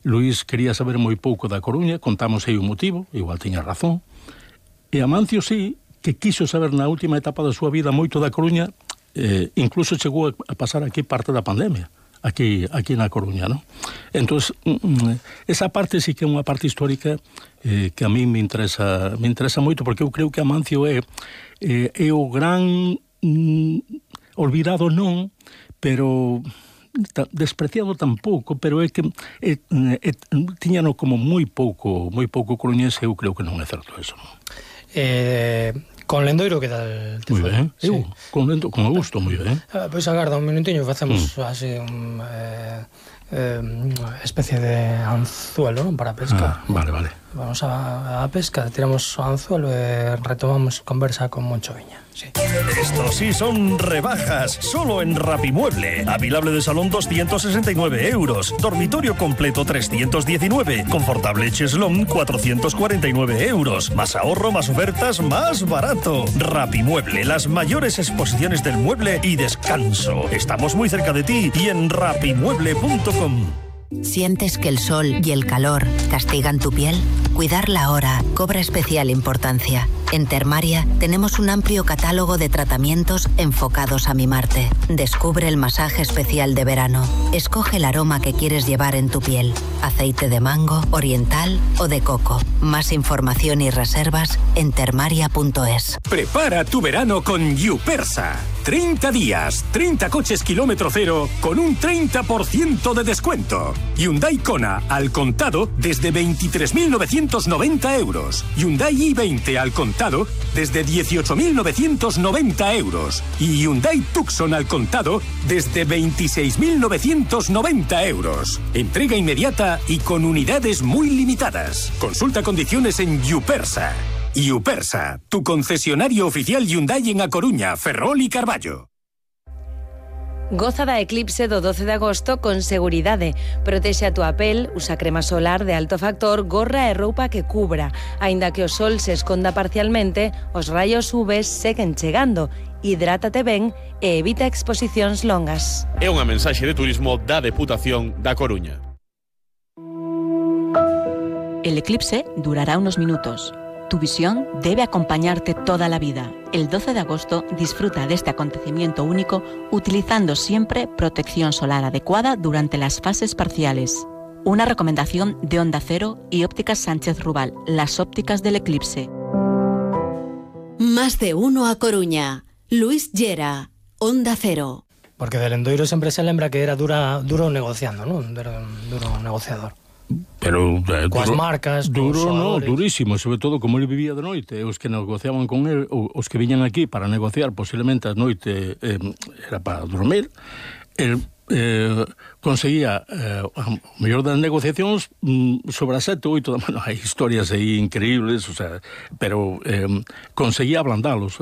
Luís quería saber moi pouco da Coruña, contamos aí o motivo, igual tiña razón, e Amancio sí, que quiso saber na última etapa da súa vida moito da Coruña, incluso chegou a pasar aquí parte da pandemia, aquí na Coruña, non? Entón, esa parte sí que é unha parte histórica que a mí me interesa moito, porque eu creo que Amancio é o gran olvidado non, pero despreciado tampouco, pero é que tiñano como moi pouco coruñense, eu creo que non é certo eso, non? Con Lendoiro que tal te foi? Moi ben, sí. Con gusto, moi ben. Pois agarda un minutiño, facemos así especie de anzuelo, non, para pescar. Vale. Vamos a pesca, tiramos o anzuelo e retomamos conversa con Moncho Viña. Sí. Estos sí son rebajas, solo en Rapimueble. Avilable de salón 269 euros, dormitorio completo 319, confortable cheslón 449 euros. Más ahorro, más ofertas, más barato. Rapimueble, las mayores exposiciones del mueble y descanso. Estamos muy cerca de ti y en rapimueble.com. ¿Sientes que el sol y el calor castigan tu piel? Cuidarla ahora cobra especial importancia. En Termaria tenemos un amplio catálogo de tratamientos enfocados a mimarte. Descubre el masaje especial de verano. Escoge el aroma que quieres llevar en tu piel. Aceite de mango, oriental o de coco. Más información y reservas en termaria.es. Prepara tu verano con Yupersa. 30 días, 30 coches kilómetro cero con un 30% de descuento. Hyundai Kona al contado desde 23.990 euros. Hyundai i20 al contado desde 18.990 euros. Y Hyundai Tucson al contado desde 26.990 euros. Entrega inmediata y con unidades muy limitadas. Consulta condiciones en Yupersa. Yupersa, tu concesionario oficial Hyundai en A Coruña, Ferrol y Carballo. Goza da eclipse do 12 de agosto con seguridade. Protexe a túa pel, usa crema solar de alto factor, gorra e roupa que cubra. Aínda que o sol se esconda parcialmente, os raios UV seguen chegando. Hidrátate ben e evita exposicións longas. É unha mensaxe de turismo da Deputación da Coruña. El eclipse durará unos minutos. Tu visión debe acompañarte toda la vida. El 12 de agosto disfruta de este acontecimiento único utilizando siempre protección solar adecuada durante las fases parciales. Una recomendación de Onda Cero y Ópticas Sánchez Rubal, las ópticas del eclipse. Más de uno a Coruña. Luis Llera, Onda Cero. Porque de Lendoiro sempre se lembra que era duro negociando, non? Era un duro negociador. Pero coas marcas, duro, no, durísimo, sobre todo como ele vivía de noite, os que negociaban con el, os que viñan aquí para negociar, posiblemente a noite era para dormir, el conseguía o mellor das negociacións sobre as 7 ou 8 da manhã. Hai historias aí increíbles, o sea, pero conseguía ablandalos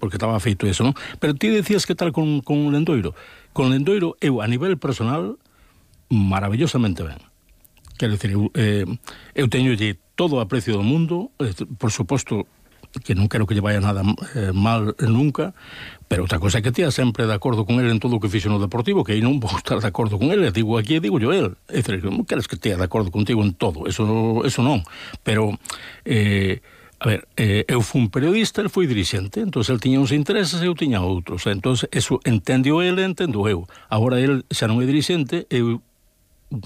porque estaba feito eso, non? Pero ti decías que tal con Lendoiro. Con Lendoiro eu a nivel personal maravillosamente ben. Quero dicir, eu teñolle todo o aprecio do mundo, por suposto que non quero que lle vaya nada mal nunca, pero outra cosa é que tía sempre de acordo con ele en todo o que fixo no Deportivo, que aí non vou estar de acordo con ele, digo aquí e digo yo el. É dicir, non queres que tea de acordo contigo en todo, eso non, pero a ver, eu fui un periodista, el foi dirixente, entón el tiña uns intereses e eu tiña outros, entón eso entendo ele, entendo eu. Agora el xa non é dirixente, eu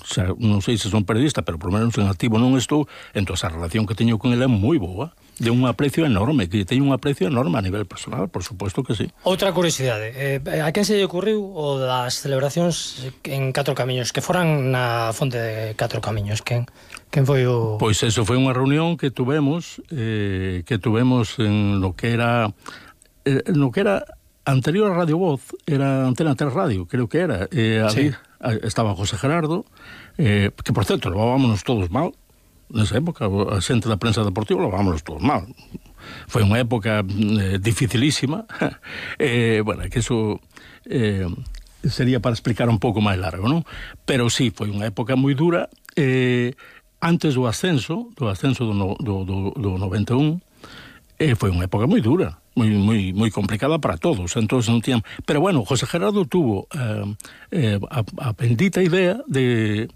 xa, non sei se son periodista, pero por menos en activo non estou, entón a relación que teño con ele é moi boa, de un aprecio enorme, que teño un aprecio enorme a nivel personal, por suposto que sí. Outra curiosidade, a quen se lle ocurriu o das celebracións en 4 camiños, que foran na fonte de 4 camiños, quen foi o... Pois eso foi unha reunión que tuvemos en lo que era anterior a Radio Voz, era Antena 3 Radio, creo que era, sí. Estaba José Gerardo, que por certo, levábamos todos mal, nesa época, a xente da prensa deportiva levábamos todos mal. Foi unha época dificilísima, bueno, que eso sería para explicar un pouco máis largo, non? Pero sí, foi unha época moi dura, antes do ascenso do 91, foi unha época moi dura, moi complicada para todos, entonces non tiñan... Pero bueno, José Gerardo tuvo a bendita idea de